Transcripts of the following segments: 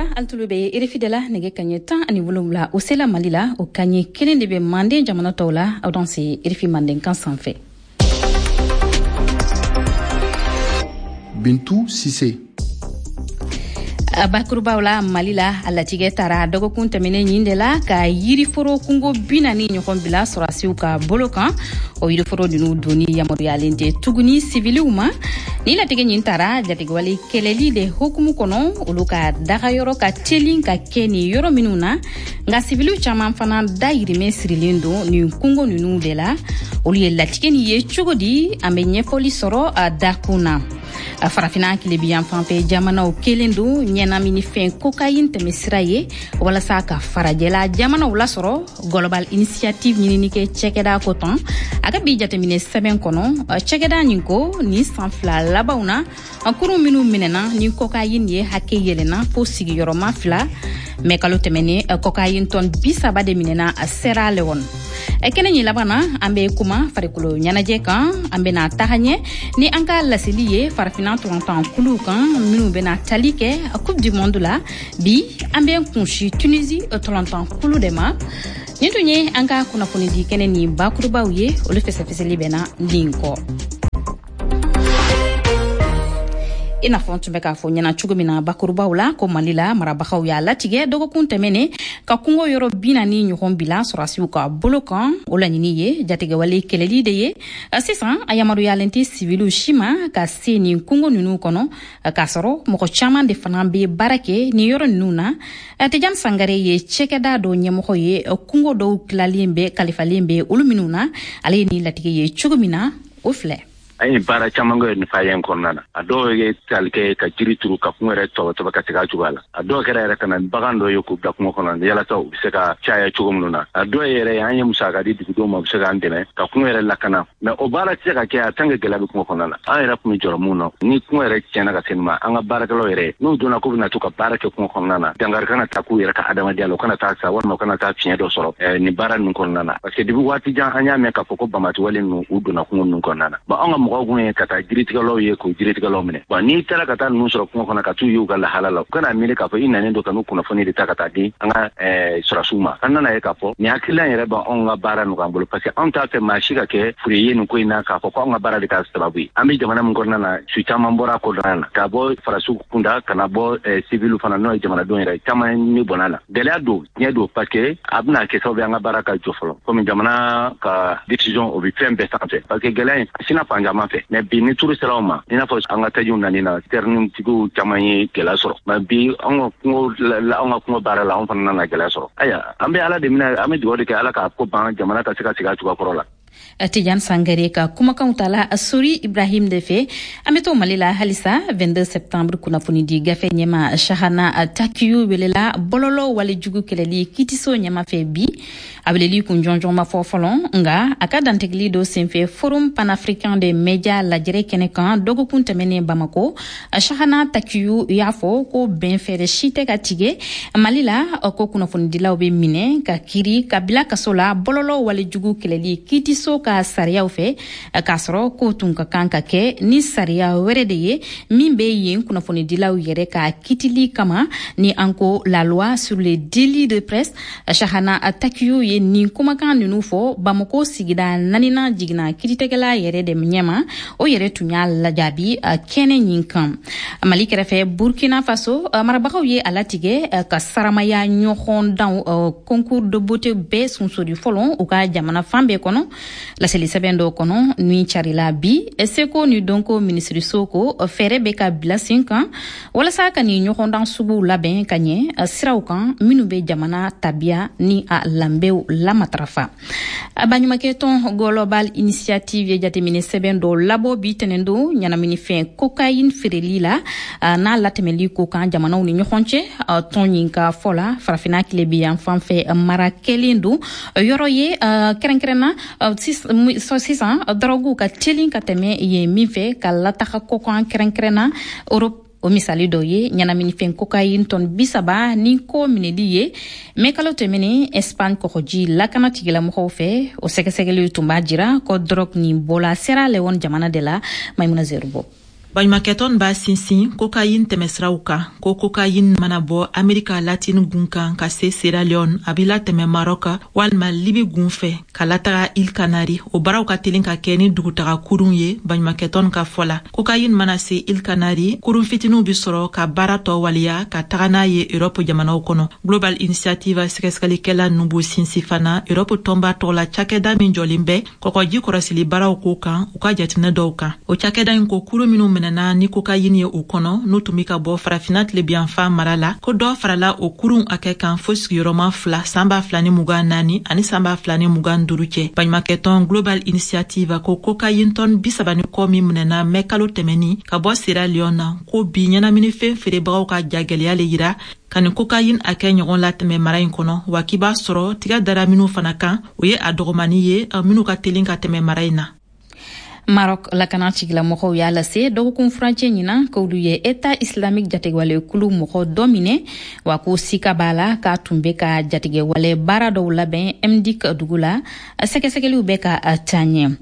Kokura, alu tulo bɛ RFI de la. Nɛgɛ kaɲɛ 17, o sela Mali la, o kaɲɛ 1 de bɛ Manden jamana tɔw la. Aw danse RFI Mandenkan sanfɛ. Bintu Sise. Bakurubaw la, Mali la, a latigɛ tara dɔgɔkun tɛmɛnen ɲin de la ka yiriforo kungo 40 ɲɔgɔn bila sɔrɔdasiw ka bolo kan. O yiriforo ninnu donni yamaruyalen tɛ tuguni siviliw ma. Ni latigɛ ɲin tara jatigɛwale kɛlɛli de hukumu kɔnɔ, olu ka dagayɔrɔ ka telin ka kɛ nin yɔrɔ minnu na. Nka siviliw caman fana dayirimɛ sirilen don nin kungo ninnu de la. Olu ye latigɛ nin ye cogo di? An bɛ ɲɛfɔli sɔrɔ a dakun na. Farafina tilebiyan fanfɛ jamanaw kelen don ɲɛnaminifɛn kokayin tɛmɛsira ye walasa ka farajɛla jamanaw lasɔrɔ. Global Initiative ɲininikɛ cɛkɛda ko tɔn a ka bi jateminɛ sɛbɛn kɔnɔ, cɛkɛda nin ko nin san 2 labanw na, kurun minnu minɛna ni kokayin ye hakɛ yɛlɛnna fo sigiyɔrɔma 2. Mɛ kalo tɛmɛnen, kokayin tɔn 30 de minɛna Sierra Leone. Kɛnɛ ɲin laban na, an bɛ kuma farikolo ɲɛnajɛ kan. An bɛna taga ɲɛ ni an ka laseli ye farafina tɔntan kuluw kan minnu bɛna tali kɛ Coupe du Monde la. Bi an bɛ kunsi Tunisie tɔlɔntan kulu de ma. Nin tun ye an ka kunnafonidi kɛnɛ ni bakurubaw ye, olu fɛsɛfɛsɛli bɛna nin kɔ. I n'a fɔ n tun bɛ k'a fɔ ɲɛna cogo min na bakurubaw la, ko Mali la, marabagaw y'a latigɛ dɔgɔkun tɛmɛnen ka kungo yɔrɔ 40 ɲɔgɔn bila sɔrɔdasiw ka bolo kan. O laɲini ye jatigɛwale kɛlɛli de ye. Sisan a yamaruyalen tɛ siviliw si ma ka se nin kungo ninnu kɔnɔ, k'a sɔrɔ mɔgɔ caman de fana bɛ baara kɛ nin yɔrɔ ninnu na. Tijan Sangare ye cɛkɛda dɔ ɲɛmɔgɔ ye, kungo dɔw tilalen bɛ kalifalen bɛ olu minnu na. Ale ye nin latigɛ ye cogo min na, o filɛ. An ye baara caman kɛ nin faya in kɔnɔna na. A dɔw ye tali kɛ ka jiri turu ka kungo yɛrɛ tɔbɔtɔbɔ ka segin a cogoya la. A dɔw kɛra yɛrɛ ka na bagan dɔ ye k'u bila kungo kɔnɔ yalasa u bɛ se ka caya cogo minnu na. A dɔw yɛrɛ an ye musaka di dugudenw ma, u bɛ se k'an dɛmɛ ka kungo yɛrɛ lakana. Mais o baara tɛ se ka kɛ a tant que gɛlɛya bɛ kungo kɔnɔna na. An yɛrɛ tun bɛ jɔrɔ mun na, ni kungo yɛrɛ tiɲɛna ka se nin ma, an ka baarakɛlaw yɛrɛ n'u donna k'u bɛna to ka baara kɛ kungo kɔnɔna na, dankari kana taa k'u yɛrɛ ka adamadenya la, u kana taa sa walima u kana taa fiɲɛ dɔ sɔrɔ nin baara ninnu kɔnɔna na. Parce que depuis waati jan an y'a mɛn k'a fɔ ko bamatiwale ninnu u donna kungo ninnu kɔnɔna na. Bon, an ka mɔgɔw kun ye ka taa jiritigɛlaw ye k'o jiritigɛlaw minɛ. Bon, n'i taara ka taa ninnu sɔrɔ kungo kɔnɔ ka t'u ye u ka lahala la, u kana miiri k'a fɔ i nanen don ka n'u kunnafoni de ta ka taa di an ka sɔrɔdasiw ma. An nana ye k'a fɔ nin hakilina yɛrɛ b'anw ka baara nɔgɔya an bolo, parce que anw t'a fɛ maa si ka kɛ fure ye nin ko in na k'a fɔ ko anw ka baara de k'a sababu ye. An bɛ jamana min kɔnɔna na, su caman bɔra a kɔnɔna na, ka bɔ farasiw kunda ka na bɔ civil fana, n'o ye jamanadenw yɛrɛ caman ni bɔnna la. Gɛlɛya don, tiɲɛ don, parce que a bɛna kɛ sababu ye an ka baara ka jɔ fɔlɔ, komi jamana ka décision o bɛ fɛn bɛɛ sanfɛ, parce que gɛlɛya in a sina fan caman fɛ. Mais bi ni turu sera o ma, i n'a fɔ an ka tajiw nani na, tɛrinitigiw caman ye gɛlɛya sɔrɔ. Mais bi an ka kungo baara la, anw fana nana gɛlɛya sɔrɔ. Ayiwa, an bɛ Ala de minɛ, an bɛ dugawu de kɛ Ala k'a ko ban, jamana ka se ka segin a cogoya kɔrɔ la. Tijan Sangare ka kumakanw tala Sori Ibrahim de fɛ. An bɛ to Mali la halisa. 22 septembre kunnafoni di gafe ɲɛma Shahana Takiyu welela bɔlɔlɔ walejugu kɛlɛli kitiso ɲɛma fɛ bi. A weleli kun jɔnjɔn ma fɔ fɔlɔ, nka a ka dantigɛli dɔ senfɛ Forum panafricain des médias lajɛrɛ kɛnɛ kan dɔgɔkun tɛmɛnen Bamako, Shahana Takiyu y'a fɔ ko bɛn fɛɛrɛ si tɛ ka tigɛ Mali la, ko kunnafonidilaw bɛ minɛ ka kiri ka bila kaso la bɔlɔlɔ walejugu kɛlɛli kitiso ka sariyaw fɛ, k'a sɔrɔ ko tun ka kan ka kɛ ni sariya wɛrɛ de ye min bɛ yen kunnafonidilaw yɛrɛ ka kitili kama, ni an ko la loi sur les délits de presse. Shahana Takiyu ye nin kumakan ninnu fɔ Bamako sigida 4nan jiginna kiiritigɛla yɛrɛ de ɲɛma, o yɛrɛ tun y'a lajaabi kɛnɛ ɲin kan. Mali kɛrɛfɛ, Burkina Faso marabagaw ye a latigɛ ka saramaya ɲɔgɔndanw concours de beauté bɛɛ sunsori fɔlɔ u ka jamana fan bɛɛ kɔnɔ. Laseli sɛbɛn dɔw kɔnɔ min carila bi, seko ni dɔnko minisiriso ko fɛɛrɛ bɛ ka bila sen kan walasa ka nin ɲɔgɔndan suguw labɛn ka ɲɛ siraw kan minnu bɛ jamana tabiya ni a lanbew lamatarafa. Baɲumankɛ tɔn Global Initiative ye jateminɛ sɛbɛn dɔ labɔ bi tɛnɛndon ɲɛnaminifɛn kokayin feereli la n'a latɛmɛli ko kan jamanaw ni ɲɔgɔn cɛ. Tɔn ɲin ka fɔ la, farafinna tilebiyan fan fɛ mara kɛlen don yɔrɔ ye kɛrɛnkɛrɛnna sisan dɔrɔguw ka teli ka tɛmɛ yen min fɛ ka lataga kɔkan, kɛrɛnkɛrɛnna Europe. O misali dɔ ye ɲɛnaminifɛn kokayin tɔn 30 ni ko minɛli ye mɛ kalo tɛmɛnen Espagne kɔgɔji lakana tigilamɔgɔw fɛ. O sɛgɛsɛgɛliw tun b'a jira ko dɔrɔg nin bɔla Sierra Leone jamana de la. Maimuna Zerbo. Baɲumankɛtɔn b'a sinsin kokayin tɛmɛsiraw kan ko kokayin mana bɔ Amerika Latine gun kan ka se Sierra Leone, a bɛ latɛmɛ Maroc walima Libi gun fɛ ka lataga Îles Canaries. O baaraw ka telin ka kɛ ni dugutaga kurun ye. Baɲumankɛtɔn ka fɔ la, kokayin mana se Îles Canaries, kurun fitiniw bi sɔrɔ ka baara tɔ waleya ka taga n'a ye Europe jamanaw kɔnɔ. Global Initiative sɛgɛsɛgɛlikɛla ninnu b'u sinsin fana Europe tɔnba tɔgɔ la cakɛda min jɔlen bɛ kɔkɔji kɔrɔsili baaraw ko kan, u ka jateminɛ dɔw kan. O cakɛda in ko kurun minnu minɛna ni kokayini ye u kɔnɔ, n'u tun be ka bɔ Farafina tilebiyanfan mara la, ko dɔ farala o kurun hakɛ kan fo sigiyɔrɔma 2 san 2024 ani san 2025 cɛ. Baɲumakɛtɔn Global Initiative ko kokayin tɔn 30 ni kɔ min minɛna mɛ kalo tɛmɛni ka bɔ Sierra Leone na, ko bi ɲɛnaminifɛn feerebagaw ka jagɛlɛya le yira ka nin kokayin hakɛ ɲɔgɔn latɛmɛ mara in kɔnɔ, wa k'i b'a sɔrɔ tiga dara minw fana kan, o ye a dɔgɔmani ye minw ka telin ka tɛmɛ mara in na. Maroc lakana tigilamɔgɔw y'a lase dɔgɔkun furancɛ ɲinan k'olu ye État islamique jatigɛwale kulu mɔgɔ dɔ minɛ, wa ko sika b'a la k'a tun bɛ ka jatigɛwale baara dɔw labɛn M'diq dugu la. Sɛgɛsɛgɛliw bɛ ka taa ɲɛ.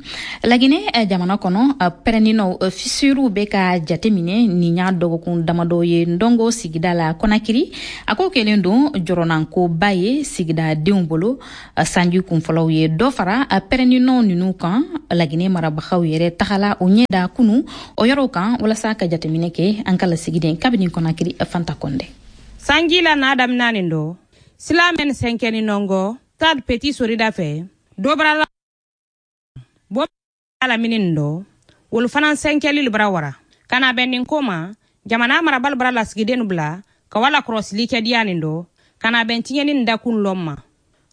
Laginɛ jamana kɔnɔ, pɛrɛninɔw fisuruw bɛ ka jateminɛ nin y'a dɔgɔkun damadɔ ye Ndongo sigida la Kɔnakiri. A ko kɛlen don jɔrɔnankoba ye sigidadenw bolo. Sanji kunfɔlɔw ye dɔ fara pɛrɛninɔ ninnu kan. Laginɛ marabagaw yɛrɛ tagala o ɲɛ da kunu o yɔrɔw kan walasa ka jateminɛ kɛ. An ka lasigiden kabini Kɔnakiri, Fanta Kɔndɛ. Sanji la n'a daminɛ nin dɔ sila mɛn sɛnkɛni nɔngɔ stade Petit Sorida fɛ dɔ bara bɔ lamini nin dɔ, wolu fana sɛnkɛli bara wara ka na bɛn nin ko ma. Jamana marabali bara lasigiden bila ka wala kɔrɔsili kɛ diya nin dɔ ka na bɛn tiɲɛni nin dakun lɔn ma.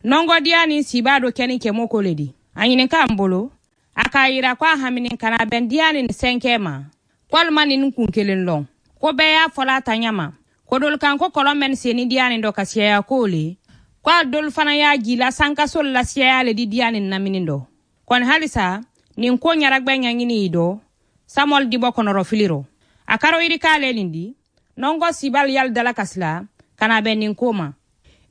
Nɔngɔ diya nin siba dɔ kɛni kɛmɔ ko le di a ɲininka an bolo, a k'a yira ko a hamini ka na bɛn diya nin sɛnkɛ ma walima nin kun kelen lɔn ko bɛɛ y'a fɔla a ta ɲɛ ma ko dolu kan ko kɔlɔn mɛn senni diya nin dɔ ka siyaya ko le ko a dolu fana y'a jila sankaso la siyaya le di diya nin namini dɔ. Kɔni halisa nin ko ɲaragbɛ ɲaɲini yi dɔ Samuel Dibɔ kɔnɔrɔ filiro a karo yiri k'ale nin di nɔngɔ sibali yali dala kasila ka na bɛn nin ko ma.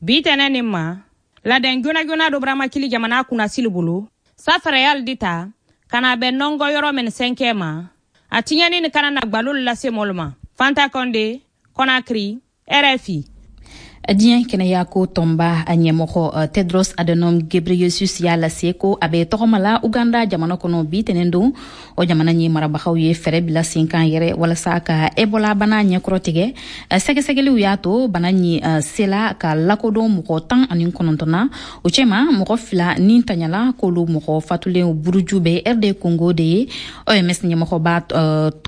Bi tɛnɛ nin ma ladɛn joona joona dɔ baramakili jamana kunnasili bolo safarayali di ta ka na bɛn nɔngɔ yɔrɔ min sɛnkɛ ma a tiɲɛni ni kana na gbalo lase mɔlu ma. Fanta Kɔnde, Kɔnakiri, RFI. Diɲɛ kɛnɛyako tɔnba ɲɛmɔgɔ Tedros Adhanom Ghebreyesus y'a lase ko a bɛ tɔgɔma la Uganda jamana kɔnɔ bi tɛnɛn don. O jamana ɲɛ marabagaw ye fɛɛrɛ bila sen kan yɛrɛ walasa ka Ebola bana ɲɛkɔrɔ tigɛ. Sɛgɛsɛgɛliw y'a to bana ɲi sela ka lakodɔn mɔgɔ 19 na, o cɛma mɔgɔ 2 ni taɲala, k'olu mɔgɔ fatulenw buruju bɛ RD Congo de ye. OMS ɲɛmɔgɔba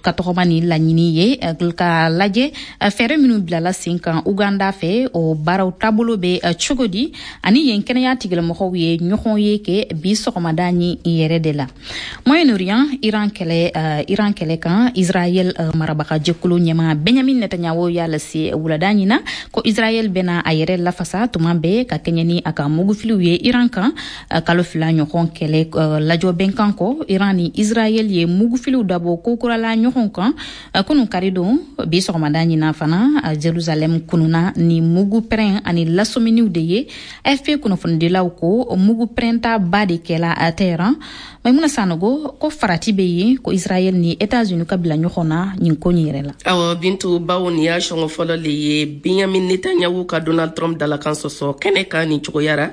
ka tɔgɔma ni laɲini ye ka lajɛ fɛɛrɛ minnu bilala sen kan Uganda fɛ, o baaraw taabolo bɛ cogo di, ani yen kɛnɛya tigilamɔgɔw ye ɲɔgɔn ye kɛ bi sɔgɔmada ni yɛrɛ de la. Moyen-Orient, Iran kɛlɛ kan, Israël marabaga jɛkulu ɲɛma Benjamin Netanyahu y'a lase wulada ɲina ko Israël bɛna a yɛrɛ lafasa tuma bɛɛ ka kɛɲɛ ni a ka mugufiliw ye Iran kan. Kalo 2 ɲɔgɔn kɛlɛ lajɔ bɛnkan kɔ, Iran ni Israël ye mugufiliw dabɔ kokurala ɲɔgɔn kan kunu kari don. Bi sɔgɔmada ɲina fana, Jerusalem kununa ni mugu pɛrɛn ani lasɔminiw de ye. AFP kunnafonidilaw ko mugu pɛrɛnta ba de kɛla Teheran. Maimuna Sanogo ko farati bɛ yen ko Israël ni États-Unis ka bila ɲɔgɔn na nin ko nin yɛrɛ la. Awɔ Bintu, bawo nin y'a sɔngɔ fɔlɔ le ye Benjamin Netanyahu ka Donald Trump dalakan sɔsɔ kɛnɛ kan nin cogoya ra,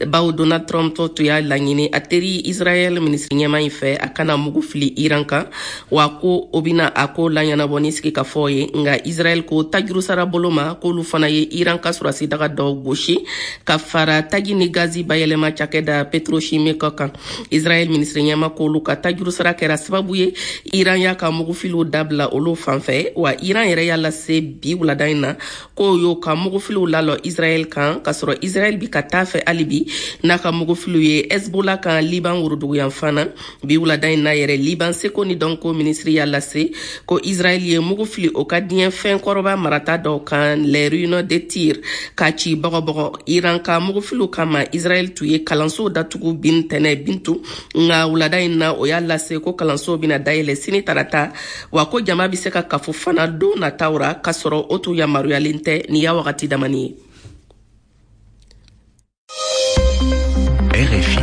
bawo Donald Trump tɔ tun y'a laɲini a teri Israël minisiri ɲɛma in fɛ a kana mugu fili Iran kan, wa ko o bɛna a ko laɲɛnabɔ ni sigikafɔ ye. Nka Israël ko tajuru sara bolo ma k'olu fana ye Iran ka sɔrɔsi daga dɔw gosi ka fara taji ni gazi bayɛlɛma cakɛda pétrochimique kan. Israël minisiri ɲɛma k'olu ka tajuru sara kɛra sababu ye Iran y'a ka mugufiliw dabila olu fan fɛ. Wa Iran yɛrɛ y'a lase bi wulada in na k'o y'o ka mugufiliw lalɔ Israël kan, k'a sɔrɔ Israël bi ka taa fɛ hali bi n'a ka mugufiliw ye Hezbollah kan Liban woroduguyanfan na. Bi wulada in na yɛrɛ, Liban seko ni dɔnko minisiri y'a lase ko Israël ye mugu fili o ka diɲɛ fɛn kɔrɔba marata dɔw kan, les ruines de Tyr, k'a ci bɔgɔbɔgɔ. Iran ka mugufiliw kama, Israël tun ye kalansow datugu bin tɛnɛ Bintu, nka wulada in na o y'a lase ko kalansow bɛna dayɛlɛ sini tarata, wa ko jama bɛ se ka kafo fana don nataw ra, k'a sɔrɔ o tun yamaruyalen tɛ nin y'a wagati damani ye. RFI.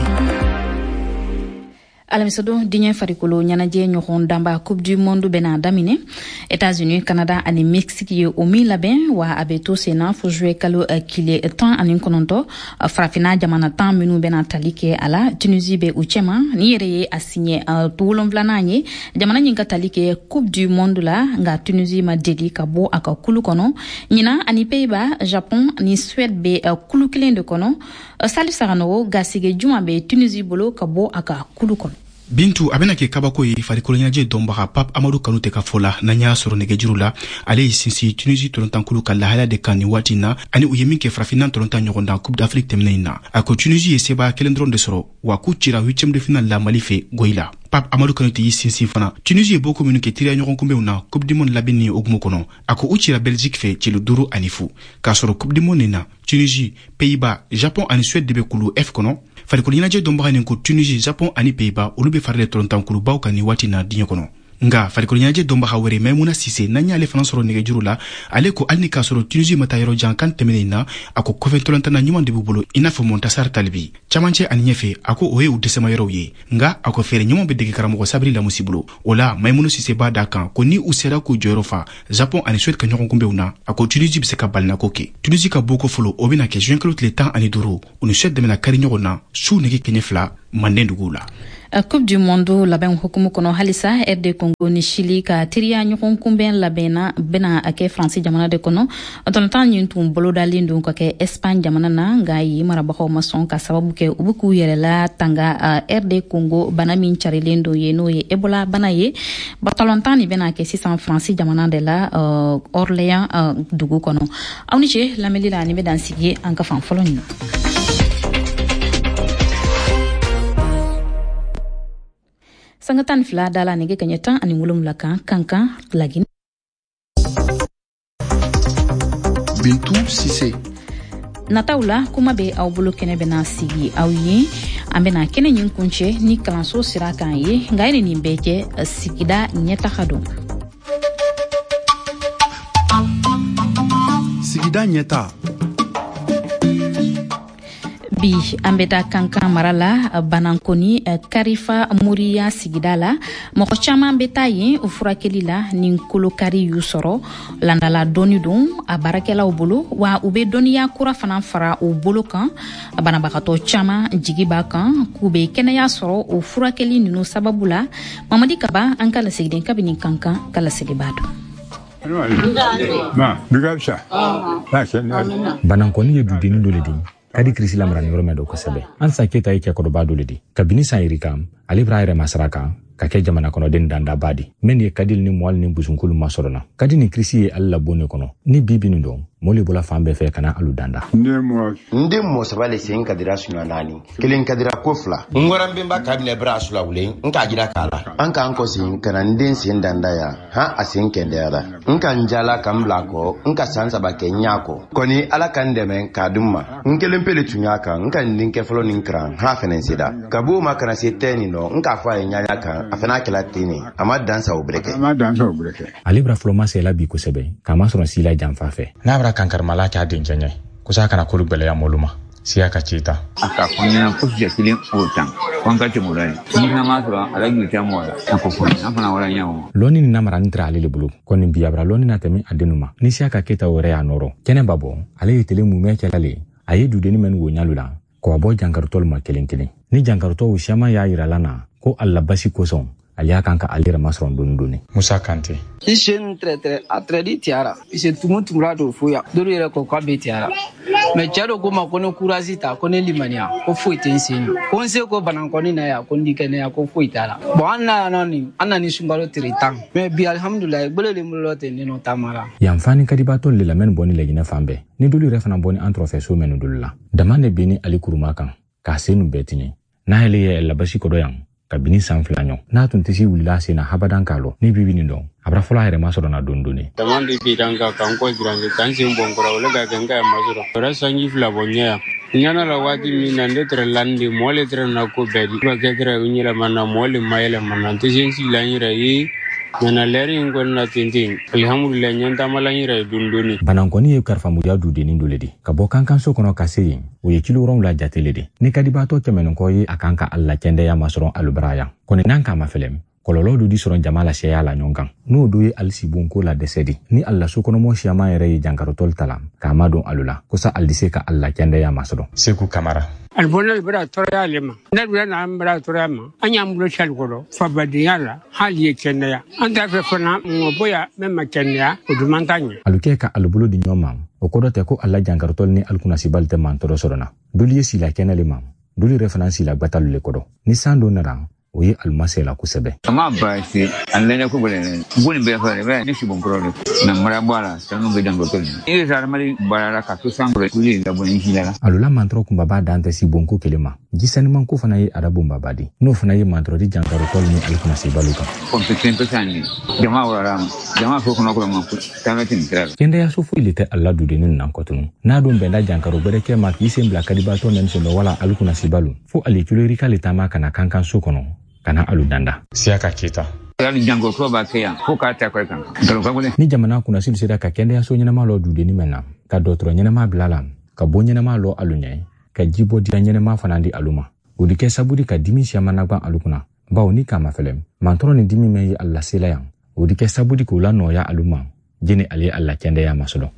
Alamisadon, diɲɛ farikolo ɲɛnajɛ ɲɔgɔn danba Coupe du Monde bɛna daminɛ. États-Unis, Canada ani Mexique ye o min labɛn, wa a bɛ to senna fo juillet kalo kile 19. Farafina jamana 10 minnu bɛna tali kɛ a la, Tunisie bɛ u cɛma. Ni yɛrɛ ye a siɲɛ 7nan ye jamana ɲin ka tali kɛ Coupe du Monde la, nka Tunisie ma deli ka bɔ a ka kulu kɔnɔ. Ɲinan, ani Pays-Bas, Japon ni Suède bɛ kulu kelen de kɔnɔ. Salif Saganogo, gasige juma bɛ Tunisie bolo ka bɔ a ka kulu kɔnɔ? Bintu, a bɛna kɛ kabako ye. Farikolo ɲɛnajɛ dɔnbaga Pap Amadu Kanute ka fɔ la, n'an y'a sɔrɔ nɛgɛjuru la, ale ye sinsin Tunisi tolontankulu ka lahalaya de kan nin waati na, ani u ye min kɛ farafinna tolontan ɲɔgɔndan Coupe d'Afrique tɛmɛnen in na. A ko Tunisi ye sebaya kelen dɔrɔn de sɔrɔ, wa k'u cira huitième de finale la Mali fɛ goyi la. Pap Amadu Kanute y'i sinsin fana Tunisi ye bɔko minnu kɛ teriya ɲɔgɔn kunbɛnw na Coupe du Monde labɛnni hukumu kɔnɔ. A ko u cira Belgique fɛ celu 5-0, k'a sɔrɔ Coupe du Monde nin na, Tunisie, Pays-Bas, Japon ani Suède de bɛ kulu F kɔnɔ. Farikolo ɲɛnajɛ dɔnbaga nin ko Tunisie, Japon ani Pays-Bas, olu bɛ fari tolontankulubaw kan nin waati na diɲɛ kɔnɔ. Nga farikolo ɲɛnajɛ dɔnbaga wɛrɛ, Maimuna Sise, n'an y'ale fana sɔrɔ nɛgɛjuru la, ale ko hali ni k'a sɔrɔ Tunisie ma taa yɔrɔ jan kan tɛmɛnen na, a ko kɔfɛ tolontanna ɲuman de b'u bolo, i n'a fɔ Montasar Talibi camancɛ ani ɲɛfɛ. A ko o ye u dɛsɛma yɔrɔw ye, nga a ko fɛɛrɛ ɲuman bɛ dege karamɔgɔ Sabri Lamusi bolo. O la, Maimunu Sise b'a da kan ko ni u sera k'u jɔyɔrɔ fa Japon ani Suède ka ɲɔgɔn kunbɛnw na, a ko Tunisie bɛ se ka balinako kɛ. Tunisie ka bɔko fɔlɔ, o bɛna kɛ juin kalo tile 15. U ni Suède de bɛna kari ɲɔgɔn na su nɛgɛ kɛɲɛ 2 Manden duguw la. Coupe du Monde labɛn hukumu kɔnɔ halisa, RD Congo ni Chili ka teriya ɲɔgɔn kunbɛn labɛnna bɛna a kɛ Faransi jamana de kɔnɔ. Tɔnɔtan nin tun bolodalen don ka kɛ Espagne jamana na, nka yen marabagaw ma sɔn ka sababu kɛ u bɛ k'u yɛrɛ la tanga RD Congo bana min carilen don ye, n'o ye Ebola bana ye. Balontan nin bɛna kɛ sisan Faransi jamana de la, Orléans dugu kɔnɔ. Aw ni ce lamɛnli la. Nin bɛ dan sigi an ka fan fɔlɔ nin na. Sanga 12 da la nɛgɛ kaɲɛ 17 kan, Kankan, Lagine. Bintu Sise. Nataw la, kuma bɛ aw bolo kɛnɛ bɛna sigi aw ye. An bɛna kɛnɛ ɲin kuncɛ ni kalanso sira kan ye, nka ye nin bɛɛ kɛ, sigida ɲɛtaga don. Sigida ɲɛta. Bi, an bɛ taa Kankan mara la, Banankoni Karifa Moriya sigida la. Mɔgɔ caman bɛ taa yen o furakɛli la ni kolokari y'u sɔrɔ. Landala dɔɔni don a baarakɛlaw bolo, wa u bɛ dɔnniya kura fana fara u bolo kan. Banabagatɔ caman jigi b'a kan k'u bɛ kɛnɛya sɔrɔ o furakɛli ninnu sababu la. Mamadi Kaba, an ka lasigiden kabini Kankan, ka lasigibaa don. Banankɔni ye dudennin dɔ le di kadi kirisi lamarani yɔrɔ mɛn dɔ kosɛbɛ. An san Keta ye cɛkɔrɔba dɔ le di. Kabini san yirika, ale b'a yɛrɛ masara kan ka kɛ jamana kɔnɔden dandaba di min ye kadili ni mɔli ni busunkulu masɔrɔ na. Kadi ni kirisi ye ale labon ne kɔnɔ ni bibi nin dɔn, mɔɔ le bɔla fan bɛɛ fɛ ka na alu danda. N den mɔɔ saba le sen kadira suɲa naani, kelen kadira ko fila. N wara n benba ka minɛ bara sulawulen, n k'a jira k'a la an k'an kɔsen ka na n den sen danda yan han, a sen kɛndɛyara. N ka n jala ka n bila kɔ, n ka san 3 kɛ n ɲa kɔ kɔni. Ala ka n dɛmɛ k'a dun ma, n kelen pe le tun y'a kan. N ka n denkɛ fɔlɔ nin karan han fɛnɛ sera ka b'o ma ka na se tɛ nin nɔ. N k'a fɔ a ye ɲaɲa kan, a fana kɛla ten ne, a ma dan sa o bɛrɛ kɛ. Ale bara fɔlɔ ma sela bi kosɛbɛ k'a masɔrɔ sila janfa fɛ n'a bara kankarimala k'a dencɛ ɲɛ kosa kana kolu gwɛlɛya mɔlu ma siya ka ci ta. A ka fɔ ɲɛna ko sijɛ kelen o tan ko an ka tɛmɛ o la ye, ni fana m'a sɔrɔ a la juru tɛ mɔgɔ la, a ko fɔ an fana wara ɲɛ o. Lɔnni ni namarani tɛra ale le bolo kɔni bi, a bara lɔnni na tɛmɛ a dennu ma ni siya ka keta o yɛrɛ y'a nɔrɔ kɛnɛ ba bɔ. Ale ye tele mumɛ kɛla le, a ye dudenni mɛn wo ɲalu la k'a bɔ jankarutɔlu ma kelen kelen. Ni jankarutɔw siyaman y'a yirala na ko a la basi kosɔn, ale y'a kan ka ale yɛrɛ masɔrɔ doni doni. Musa Kante. I sen tɛrɛtɛrɛ a tɛrɛdi tiyara se tumu tumura don foya dolu yɛrɛ ko k'a bɛ tiyara mɛ cɛ dɔ ko ma ko ne kurasi ta ko ne limaniya ko foyi tɛ n sen na, ko n se ko banankɔni na yan, ko n di kɛnɛya ko foyi t'a la. Bɔn, an na yan nɔ nin, an na ni sunkalo tere 10 mɛ bi, alihamudulilayi, gbele le bolo ten ne nɔ taama la. Yanfani kadibatɔ le lamɛn bɔ ni Laginɛ fan bɛɛ ni dolu yɛrɛ fana bɔ ni an tɔrɔfɛ so mɛnu dolu la dama de bɛ ni ale kuruma kan k'a sen nu bɛɛ tiɲɛ n'ale ye labasi kɔdɔ yan kabini san 2 ɲɔ n'a tun tɛ se wulila sen na habadan k'a lɔ ni bibi nin dɔn a bara fɔlɔ a yɛrɛ ma sɔrɔ na don doni. Dama de bi kan ka kan kɔ jiranse kan sen bɔn kɔrɔ o le ka kɛ n ka ma sɔrɔ o yɛrɛ sanji 2 bɔ ɲɛ yan ɲana la. Waati min na ne tɛrɛ lani de mɔɔ le tɛrɛ na ko bɛɛ di ka kɛ tɛrɛ n yɛlɛma na mɔɔ le ma yɛlɛma na n tɛ se n sigi la n yɛrɛ ye. Nana lɛri in kɔni na ten ten, alihamudulila, ɲɛ taamala n yɛrɛ ye dɔɔni dɔɔni. Banankɔni ye karifamuya dudennin dɔ le di ka bɔ kankanso kɔnɔ ka se yen, o ye kilo 7 jate le di. Ni kadibaatɔ tɛmɛnen kɔ ye a kan ka a la kɛndɛya masɔrɔ alubara yan kɔni, n'an k'a mafɛlɛ, kɔlɔlɔ dɔ di sɔrɔ jama la sɛya la ɲɔgɔn kan, n'o do ye alisibonko la dɛsɛ di. Ni ali la sokɔnɔmɔ siyaman yɛrɛ ye jankarotɔli ta la k'a madon alu la kosa ali di se ka ali la kɛndɛya masɔrɔ. Seku Kamara. Alibɔnna bara tɔɔrɔya ale ma, ne dun n'an bara tɔɔrɔya ma, an y'an bolo sali kɔrɔ fabadenya la, hali ye kɛnɛya an t'a fɛ fana mɔgɔ bonya min ma kɛnɛya, o dun man t'a ɲɛ. Alu kɛ ka alu bolo di ɲɔgɔn ma, o kɔrɔ tɛ ko ala jankarotɔli ni alikunnasibali tɛ mantɔrɔ sɔrɔ na. Dolu ye sila kɛnɛ le ma, dolu yɛrɛ fana sila gbatalu le kɔrɔ. Ni san dɔ nana, o ye alumasɛ la kosɛbɛ. A ma baasi a lɛnɛ ko bɛlɛ bon nin bɛɛ fɛ ne si bon kɔrɔ de na mara bɔ a la, sanu bɛ dan kɔtɔ i ye hadamaden baara ka to san kɔrɔ kuli la bɔ ni la. Alula mantɔrɔ kunbaba dan tɛ si bonko kelen ma, ji sanimanko fana ye a bonbaba di, n'o fana ye mantɔrɔ di jankarotɔli ni alikunnasibaliw kan. Pɔnpe kelen pɛ san jama wɔrɔla ma jama fo kɔnɔ kɔrɔ ma taama tɛ nin sira la. Kɛndɛyaso foyi le tɛ ala dudennin nan kɔtunu n'a don bɛnda jankaro gwɛrɛ kɛ ma k'i sen bila kadibatɔ mɛn sɔndɔ wala alikunnasibalu, fo ale kiloyirika le taama ka na kankanso kɔnɔ ka na alu danda. Siyaka Keta. Hali janko b'a kɛ yan fo k'a ta kɔrɔ kan nkalon ka gɛlɛn. Ni jamana kunnasili sera ka kɛndɛyaso ɲɛnama lɔ dudenni mɛn na, ka dɔgɔtɔrɔ ɲɛnama bila la, ka bon ɲɛnama lɔ alu ɲɛ, ka jibɔ dira ɲɛnama fana di alu ma, o di kɛ sabu di ka dimi siyaman nagwan alu kunna, bawo ni k'a mafɛlɛ mantɔrɔ ni dimi mɛn ye alu lasela yan, o di kɛ sabu di k'o la nɔgɔya alu ma jeni ale ye alu la kɛndɛya masɔrɔ.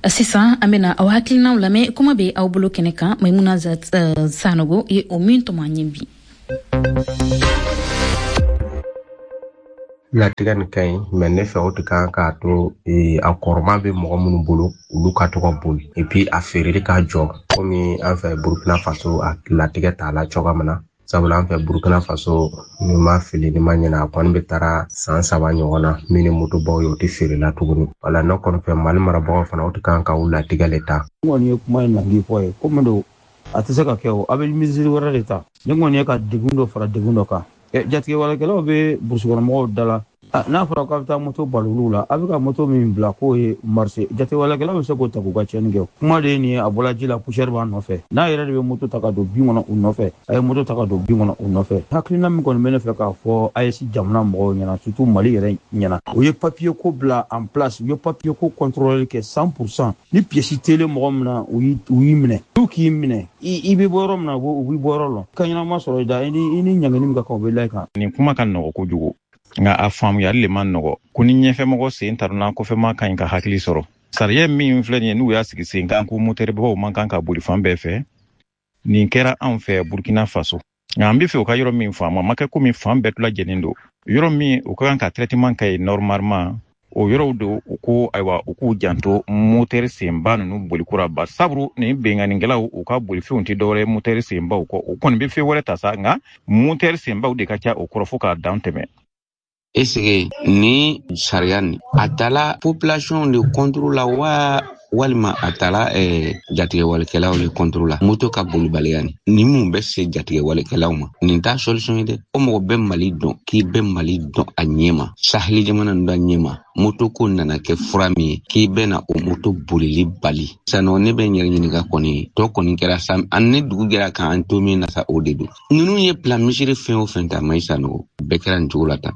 Sisan an bena aw hakilinaw lamɛn. Kuma be aw bolo kɛnɛ kan, Maimuna Sanogo ye o min tɔmɔ an ye bi. Latigɛ nin ka ɲi, mɛ ne fɛ o tɛ kan k'a to a kɔrɔma bɛ mɔgɔ minnu bolo, olu ka to ka boli, et puis a feereli ka jɔ, komi an fɛ Burukina Faso a latigɛ t'a la cogoya min na. Sabula an fɛ Burukina Faso, ni ma fili ni ma ɲinɛ, a kɔni bɛ taara san 3 ɲɔgɔn na min ni motobaw ye, o tɛ feerela tuguni. Wala ne kɔni fɛ, Mali marabagaw fana, o tɛ kan ka u latigɛ le ta. N kɔni ye kuma in langi fɔ ye komi don a tɛ se ka kɛ, o a bɛ misiri wɛrɛ de ta. Ne kɔni ye ka degun dɔ fara degun dɔ kan. Jatigɛwalekɛlaw bɛ burusikɔnɔmɔgɔw da la, n'a fɔra k'a bɛ taa moto bali olu la, a bɛ ka moto min bila k'o ye marché, jatigɛwalekɛlaw bɛ se k'o ta k'u ka tiɲɛni kɛ. Kuma de ye nin ye, a bɔla ji la, poussière b'a nɔfɛ, n'a yɛrɛ de bɛ moto ta ka don bin kɔnɔ u nɔfɛ, a ye moto ta ka don bin kɔnɔ u nɔfɛ. Hakilina min kɔni bɛ ne fɛ k'a fɔ AES jamana mɔgɔw ɲɛna, surtout Mali yɛrɛ ɲɛna, o ye papier ko bila en place, u ye papier ko contrôler kɛ 100%. Ni pièce telen mɔgɔ min na, u y'i minɛ, n'u k'i minɛ, i bɛ bɔ yɔrɔ min na, u b'i bɔ yɔrɔ lɔn ka ɲɛnama sɔrɔ i da, i ni ɲangini min ka kan, u bɛ la i kan. Nin kuma ka nɔgɔ kojugu, nka a faamuyali le man nɔgɔ, ko ni ɲɛfɛmɔgɔ sen taruna, kɔfɛma ka ɲi ka hakili sɔrɔ. Sariya min filɛ nin ye, n'u y'a sigi sen kan ko motɛribaw man kan ka boli fan bɛɛ fɛ, nin kɛra anw fɛ Burkina Faso. Nka an be fɛ u ka yɔrɔ min faamu, a ma kɛ komi fan bɛɛ lajɛlen don. Yɔrɔ min u ka kan ka traitement kɛ yen normalement, o yɔrɔw don. U ko ayiwa, u k'u janto motɛri senba ninnu bolikura ba saburu ni benganikɛlaw u ka bolifɛnw tɛ dɔwɛrɛ motɛri senbaw kɔ. U kɔni bɛ fɛn wɛrɛ ta sa, nka motɛri senbaw de ka ca o kɔrɔ fo k'a dan tɛmɛ. Est-ce que ni sariya nin a tala population de contre la wa, walima a tala jatigɛwalekɛlaw le contre la? Moto ka bolibaliya nin, ni mun bɛ se jatigɛwalekɛlaw ma, nin t'a solution ye dɛ. O mɔgɔ bɛ Mali dɔn, k'i bɛ Mali dɔn a ɲɛ ma, saheli jamana ninnu a ɲɛ ma, moto ko nana kɛ fura min ye k'i bɛna o moto bolili bali sanɔ. Ne bɛ n yɛrɛ ɲininka kɔni, tɔ kɔni kɛra sa, an ne dugu kɛra k'an to min na sa, o de don. Ninnu ye plan misiri fɛn o fɛn ta, Mayi Sanogo, bɛɛ kɛra nin cogo la tan.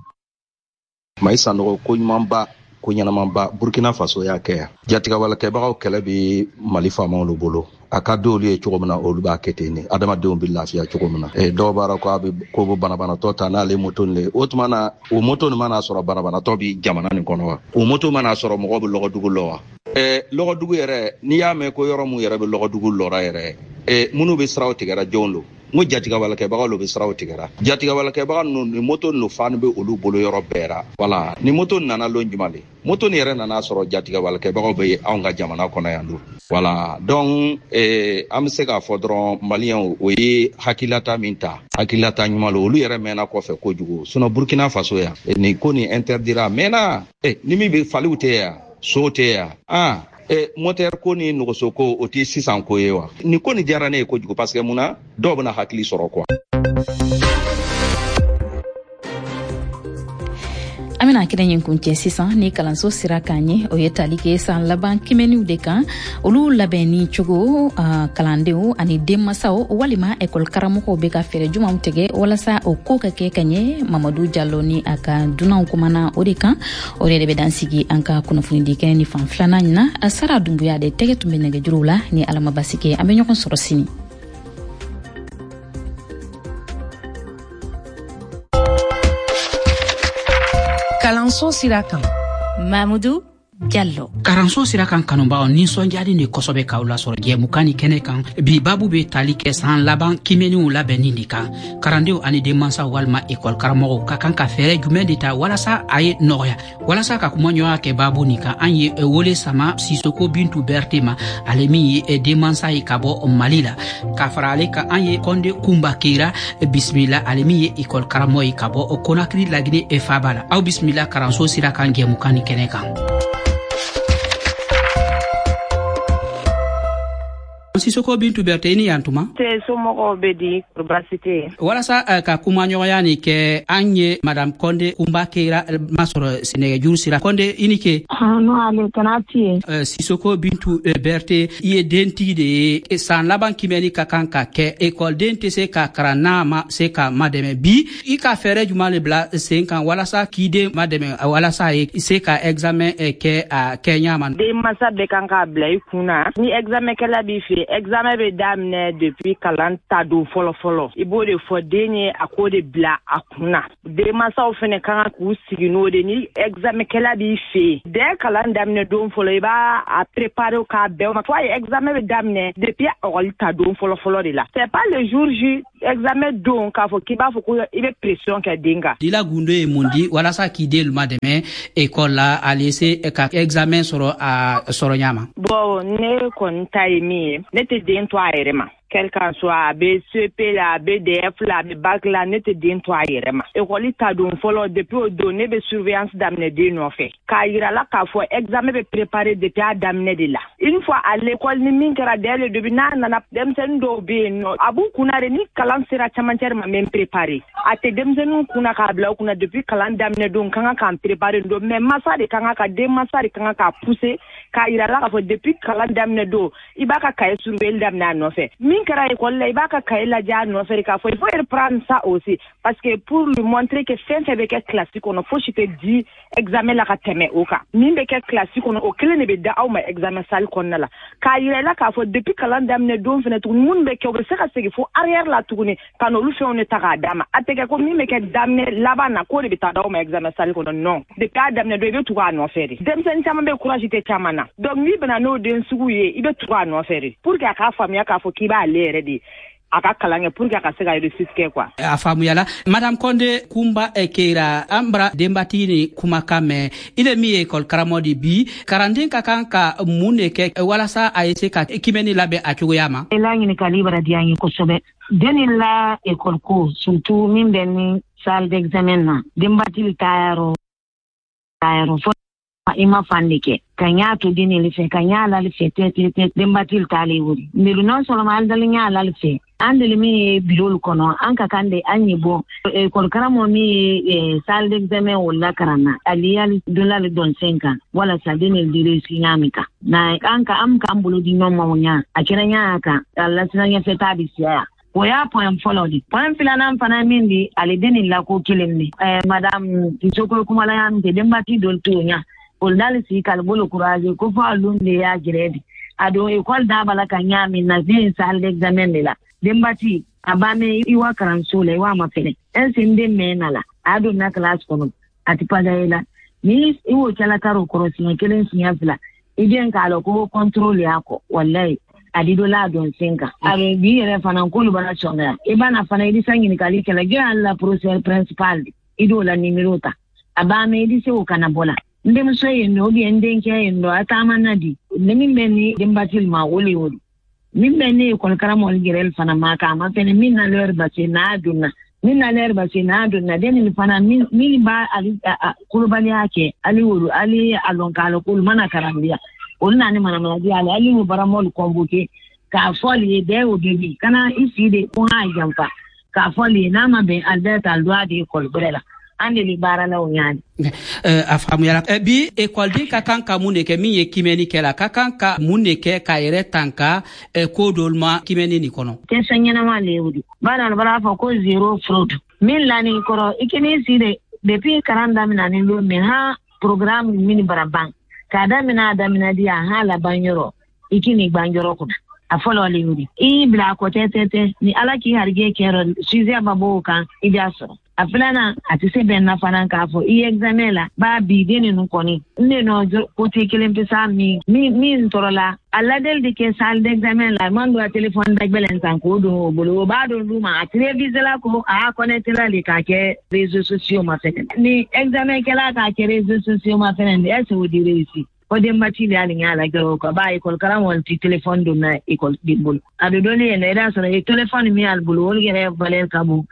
Mayi Sanogo, ko ɲumanba, ko ɲɛnamanba, Burkina Faso y'a kɛ yan. Jatigɛwalekɛbagaw kɛlɛ bɛ Mali faamaw de bolo. A ka di olu ye cogo min na, olu b'a kɛ ten de, adamadenw bɛ lafiya cogo min na. Dɔw b'a ko a bɛ ko bɛ banabanatɔ ta n'ale moto nin le, o tuma na o moto nin mana sɔrɔ, banabanatɔ bɛ jamana nin kɔnɔ wa? O moto mana sɔrɔ, mɔgɔw bɛ lɔgɔdugu lɔ wa? Lɔgɔdugu yɛrɛ, n'i y'a mɛn ko yɔrɔ mun yɛrɛ bɛ lɔgɔdugu lɔra yɛrɛ, minnu bɛ siraw tigɛra, jɔn don? N ko jatigɛwalekɛbagaw bɛ siraw tigɛra. Jatigɛwalekɛbaga ninnu ni moto ninnu fan bɛ olu bolo yɔrɔ bɛɛ ra. Wala ni moto nana lon jumɛn de, moto nin yɛrɛ nana sɔrɔ jatigɛwalekɛbagaw bɛ anw ka jamana kɔnɔ yan don. Wala donc an bɛ se k'a fɔ dɔrɔn, maliyɛnw, o ye hakililata min ta, hakililata ɲuman lo. Olu yɛrɛ mɛnna kɔfɛ kojugu. Sinon Burkina Faso yan, nin ko nin interdira a mɛnna. Ni min bɛ faliw tɛ yan, so tɛ yan, ah moteur ko ni nɔgɔso ko, o tɛ sisan ko ye wa? Nin ko nin diyara ne ye kojugu, parce que mun na, dɔw bɛna hakili sɔrɔ quoi. An bɛna kɛnɛ ɲin kuncɛ sisan ni kalanso sira kan ye, o ye tali kɛ san laban kimɛniw de kan, olu labɛnni cogo, kalandenw ani denmasaw walima ekɔli karamɔgɔw bɛ ka fɛɛrɛ jumanw tigɛ walasa o ko ka kɛ ka ɲɛ. Mamadu Jalo ni a ka dunanw kumana o de kan. O de bɛ dan sigi an ka kunnafonidi kɛnɛ ni fan filanan ɲin na. Sara Dunbuya de tɛgɛ tun bɛ nɛgɛjuruw la. Ni Ala ma basi kɛ, an bɛ ɲɔgɔn sɔrɔ sini. Kalanso sira kan, Mamudu Jallo. Karanso sira kan kanubagaw, nisɔndiyalen de kosɔbɛ k'aw lasɔrɔ jɛmukan ni kɛnɛ kan. Bi babu be tali kɛ san laban kimɛniw labɛnni de kan. Karandenw ani denmansaw walima ekɔli karamɔgɔw ka kan ka fɛɛrɛ jumɛn de ta walasa a ye nɔgɔya? Walasa ka kumaɲɔgɔnya kɛ babu nin kan, an ye wele sama Sisoko Bintu Berte ma, ale min ye denmansa ye ka bɔ Mali la. Ka fara ale kan, an ye Kɔnde Kunba Keyira bisimila, ale min ye ekɔli karamɔgɔ ye ka bɔ Konakiri, Lagine faaba la. Aw bisimila karanso sira kan jɛmukan ni kɛnɛ kan. Sisoko Bintu Berte, i ni yan tuma. Te somɔgɔw bɛ di, baasi tɛ yen? Walasa ka kumaɲɔgɔnya nin kɛ, an ye madame Kɔnde Kunba Keyira masɔrɔ nɛgɛjuru sira. Kɔnde, i ni ke. No, ale kana ti ye. Sisoko Bintu Berte, i ye dentigi de ye. San laban kimɛni ka kan ka kɛ, ekɔliden tɛ se ka karan n'a ma se ka madɛmɛ. Bi, i ka fɛɛrɛ juman le bila sen kan walasa k'i den madɛmɛ, walasa a ye se ka examen kɛ a kɛɲa ma? Denmansa bɛɛ kan k'a bila i kun na, ni examen kɛla b'i fɛ, examen bɛ daminɛ depuis kalan ta don fɔlɔ fɔlɔ. I b'o de fɔ den ye, a k'o de bila a kun na. Denmansaw fɛnɛ ka kan k'u sigi n'o de, ni examen kɛla b'i fɛ yen, dès kalan daminɛ don fɔlɔ, i b'a a préparer k'a bɛn o ma. Fo a ye examen bɛ daminɛ depuis ekɔli ta don fɔlɔ fɔlɔ de la. C'est pas le jour J, examen don, k'a fɔ k'i b'a fɔ ko i bɛ pression kɛ den kan. I la gundo ye mun di walasa k'i den madɛmɛ ekɔli la, ale se ka examen sɔrɔ a sɔrɔ ɲa ma? Bon, ne kɔni ta ye min ye, ne tɛ den to a yɛrɛ ma. Quel qu'en soit, a bɛ CP la, a bɛ DF la, a bɛ bac la, ne tɛ den to a yɛrɛ ma. Ekɔli ta don fɔlɔ, depuis o don, ne bɛ surveillance daminɛ den nɔfɛ, k'a yira la k'a fɔ examen bɛ préparer depuis a daminɛ de la. Une fois à l'école, ni min kɛra dès le début, n'a nana, denmisɛnnin dɔw bɛ yen nɔ, a b'u kunna de, ni kalan sera camancɛ ma, n bɛ préparer. A tɛ denmisɛnninw kunna k'a bila u kunna depuis kalan daminɛ don kan ka k'an préparer don, mais masa de kan ka, den masa de kan k'a pousser k'a yira la k'a fɔ depuis kalan daminɛ don, i b'a ka cahier surveiller daminɛ a nɔfɛ. Min kɛra école la, i b'a ka cahier lajɛ a nɔfɛ de, k'a fɔ il faut reprendre ça aussi, parce que pour lui montrer que fɛn fɛn bɛ kɛ classe kɔnɔ, fosi tɛ di examen la ka tɛmɛ o kan. Min bɛ kɛ classe kɔnɔ, o kelen de bɛ da aw ma examen salle kɔnɔna la, k'a yira i la k'a fɔ depuis kalan daminɛ don fɛnɛ tuguni, minnu bɛ kɛ, u bɛ se ka segin fo arrière la tuguni ka n'olu fɛnw de ta k'a d'a ma. A tɛ kɛ ko min bɛ kɛ daminɛ laban na, k'o de bɛ taa d'aw ma examen salle kɔnɔ. Non, depuis a daminɛ don, i bɛ tugu a nɔfɛ de. Denmisɛnnin caman bɛ, courage tɛ caman na, donc n'i bɛna n'o den sugu ye, i bɛ tugu a nɔfɛ de pour que a k'a faamuya k'a fɔ k'i b'ale yɛrɛ de a ka kalan kɛ pour que a ka se ka réussite kɛ quoi. A faamuyala. Madame Konde Kumba Keyira, an bara denbatigi ni kumakan mɛn. I le min ye ekɔli karamɔgɔ de, bi karanden ka kan ka mun de kɛ walasa a ye se ka kimɛni labɛn a cogoya ma? I la ɲininkali bara diya n ye kosɛbɛ. Den ni la ekɔli ko, surtout min bɛ ni salle d'examen na, denbatigi taayɔrɔ taayɔrɔ fɔ i ma fan de kɛ ka ɲa to den le fɛ, ka ɲa lali fɛ tɛ tɛ tɛ, denbatigi t'ale wuli ndelu. Non seulement ali dali ɲa lali fɛ, an deli min ye bureau kɔnɔ, an ka kan de an ye bɔ ekɔli karamɔgɔ min ye salle d'examen o lakaran na, ali yali donlali dɔn sen kan walasa den ne di réussir ɲa min kan na, an ka an k'an bolo di ɲɔgɔn ma o ɲa a kɛra ɲa kan a lasina ɲɛfɛ t'a bi siya. O y'a point fɔlɔ di. Point filanan fana min di, ale den ni lako kelen de, madame Sisoko kumala y'a min kɛ, denbatigi dɔ t'o ɲa, olu n'ale sigi k'ale bolo courage ko fo alun de y'a gɛrɛ di a don ekɔli da b'a la ka ɲa min na den salle d'examen de la. Denbati a b'a mɛn i wa karanso la, i wa ma fɛnɛ est ce n den mɛn na la, a don na classe kɔnɔ, a ti pagaye la. Ni i y'o kɛla karo kɔrɔ siɲɛ kelen, siɲɛ fila, i den k'a lɔn ko contrôle y'a kɔ, walayi a di dɔ la a dɔn sen kan. A bɛ bi yɛrɛ fana k'olu b'a sɔngaya, i b'a na fana, i bɛ se ɲininkali kɛla jɔn y'ale la professeur principal di, i d'o la numéro ta, a b'a mɛn i bɛ se o kana bɔ la, n denmuso ye nin ou bien n denkɛ ye nin dɔ, a taama na di. Ne min bɛ ni denbatigi ma, o le y'o di. Min bɛ ne ekɔli karamɔgɔ yɛrɛ fana ma k'a ma fɛnɛ, min na l'heure ba se n'a donna, min na l'heure ba se n'a donna, den nin fana min b'a ali kolobaliya kɛ, ali wolo ali a lɔn k'a lɔn k'olu mana karandiya, olu na ni manamana di ale, ali y'o baramɔlu convoqué k'a fɔ ale ye dès au début, kana i si de ko k'a janfa, k'a fɔ ale ye n'a ma bɛn, ali bɛ ta don a de ekɔli gbɛrɛ la. An de bɛ baara la o ɲa. A faamuyara. Bi, ekɔliden ka kan ka mun de kɛ min ye kimɛni kɛ la? Ka kan ka mun de kɛ k'a yɛrɛ tanka ko dɔlu ma kimɛni nin kɔnɔ? Question ɲɛnama le ye o di. Bana b'a fɔ ko zéro fraude. Min lani kɔrɔ, i k'i si de depuis karan daminɛ ni don min han, programme min bara ban k'a daminɛ, a daminɛ di a han laban yɔrɔ, i k'i ni gban yɔrɔ kunna. A fɔlɔ le y'o di. I y'i bila a kɔ tɛ tɛ tɛ ni Ala k'i harijɛ kɛ, sujet ma bɔ o kan, i b'a sɔrɔ. A filanan, a tɛ se bɛn na fana k'a fɔ i ye examen la b'a bi den ninnu kɔni ne nɔ côté kelen pe sa min min tɔɔrɔ la. A ladeli de kɛ salle d'examen la, man don a téléphone dagbɛlɛn san k'o don o bolo, o b'a don d'u ma, a télévisé la ko a y'a connecté la de k'a kɛ réseaux sociaux ma fɛnɛ. Ni examen kɛla k'a kɛ réseaux sociaux ma fɛnɛ, est ce que o di réussi? O denbati de hali ɲa la gɛrɛ o kan ba école karamɔgɔ ti téléphone don na école den bolo. A bɛ dɔnni yɛlɛ, i b'a sɔrɔ téléphone min y'ale bolo, o yɛrɛ valeur ka bon.